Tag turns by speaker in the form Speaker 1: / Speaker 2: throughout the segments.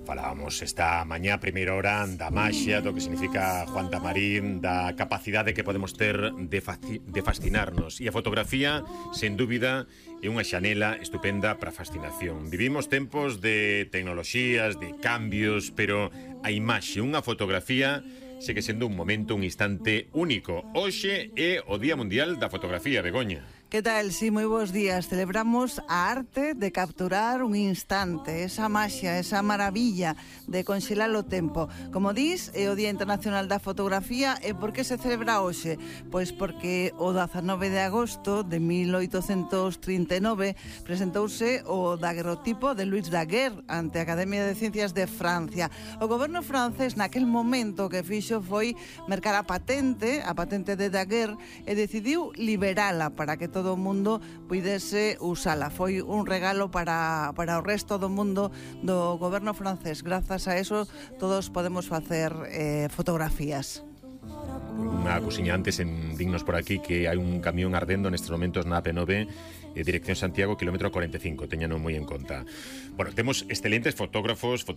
Speaker 1: Falábamos esta mañá, primeira hora, da maxia, do que significa Juan Tamarín, da capacidade que podemos ter de fascinarnos. E a fotografía, sen dúbida, é unha xanela estupenda para a fascinación. Vivimos tempos de tecnoloxías, de cambios, pero a imaxe, unha fotografía, segue sendo un momento, un instante único. Hoxe é o Día Mundial da Fotografía, Begoña.
Speaker 2: Que tal? Sí, moi bons días. Celebramos a arte de capturar un instante, esa maxia, esa maravilla de conxelar o tempo. Como dis, é o Día Internacional da Fotografía. E por que se celebra hoxe? Pois porque o 19 de agosto de 1839 presentouse o daguerrotipo de Louis Daguerre ante a Academia de Ciencias de Francia. O goberno francés naquel momento que fixo foi mercar a patente de Daguerre, e decidiu liberala para que todo o mundo puidese usala. Foi un regalo para o resto do mundo do goberno francés. Grazas a eso todos podemos facer fotografías.
Speaker 1: Unha cousiña antes en Dignos por aquí, que hai un camión ardendo nestes momentos na AP9, dirección Santiago, kilómetro 45, teñano moi en conta. Bueno, temos excelentes fotógrafas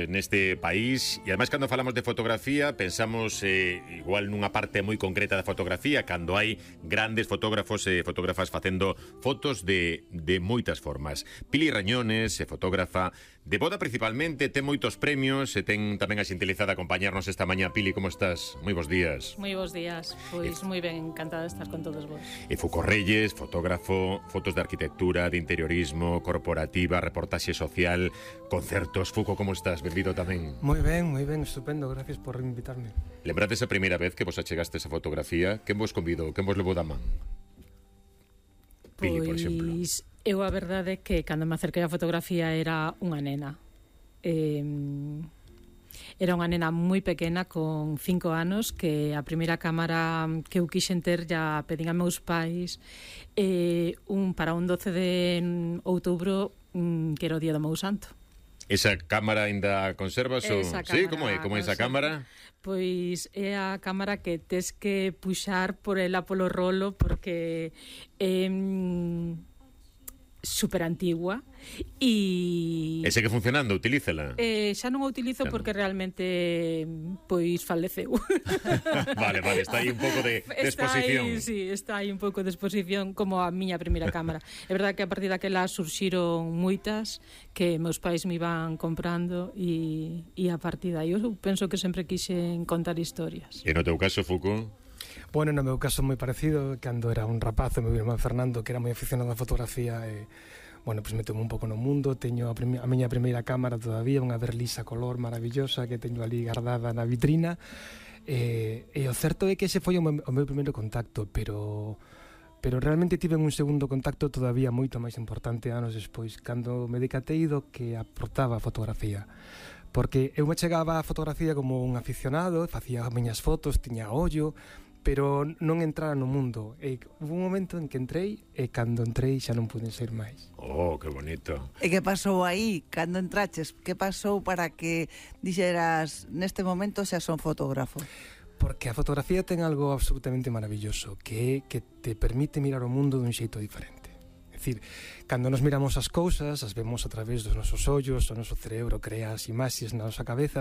Speaker 1: neste país, e ademais cando falamos de fotografía pensamos igual nunha parte moi concreta da fotografía, cando hai grandes fotógrafos e fotógrafas facendo fotos de moitas formas. Pili Rañones, fotógrafa de boda principalmente, ten moitos premios e ten tamén a xentileza de acompañarnos esta mañá. Pili, como estás? Moi bons días.
Speaker 3: Moi bons días, pois moi ben, encantada de estar con todos vos.
Speaker 1: E Foucault Reyes, fotógrafo, fotos de arquitectura, de interiorismo, corporativa, reportaxe social, concertos. Foucault, como estás? Benvido tamén.
Speaker 4: Moi ben, estupendo, gracias por invitarme.
Speaker 1: Lembrades a primeira vez que vos achegastes a fotografía? Quen vos convidou? Quen vos levou da man? Pili, por exemplo.
Speaker 3: Pois eu a verdade é que cando me acerquei á fotografía era unha nena. Era unha nena moi pequena con 5 anos, que a primeira cámara que eu quixen ter ya pedín a meus pais para un 12 de outubro, que era o día do meu santo.
Speaker 1: Esa cámara ainda conservas? Sí, como é? Como é esa cámara?
Speaker 3: Pois é a cámara que tes que puxar por ela polo rolo, porque super antigua e
Speaker 1: segue funcionando, utilízala?
Speaker 3: Xa non a utilizo porque realmente pois faleceu.
Speaker 1: Vale, está aí un pouco de exposición.
Speaker 3: Está aí un pouco de exposición, como a miña primeira cámara. É verdade que a partir daquela surxiron moitas que meus pais me iban comprando e a partir daí eu penso que sempre quixen contar historias.
Speaker 1: E no teu caso, Foucault?
Speaker 4: Bueno, no meu caso moi parecido. Cando era un rapaz, o meu irmán Fernando, que era moi aficionado á fotografía, bueno, pues meteu un pouco no mundo. Teño a miña primeira cámara todavía, unha Berlisa color maravillosa que teño ali guardada na vitrina, e o certo é que ese foi o meu primeiro contacto, pero realmente tive un segundo contacto todavía moito máis importante anos despois, cando me decatei do que aportaba a fotografía. Porque eu me chegaba á fotografía como un aficionado, facía as miñas fotos, tiña ollo, pero non entrara no mundo. E hubo un momento en que entrei, e cando entrei xa non pude sair máis.
Speaker 1: Oh, que bonito.
Speaker 2: E que pasou aí, cando entraches? Que pasou para que dixeras, neste momento xa son fotógrafo?
Speaker 4: Porque a fotografía ten algo absolutamente maravilloso, que é que te permite mirar o mundo dun xeito diferente. É dicir, cando nos miramos as cousas, as vemos a través dos nosos ollos, o noso cerebro crea as imaxes na nosa cabeza,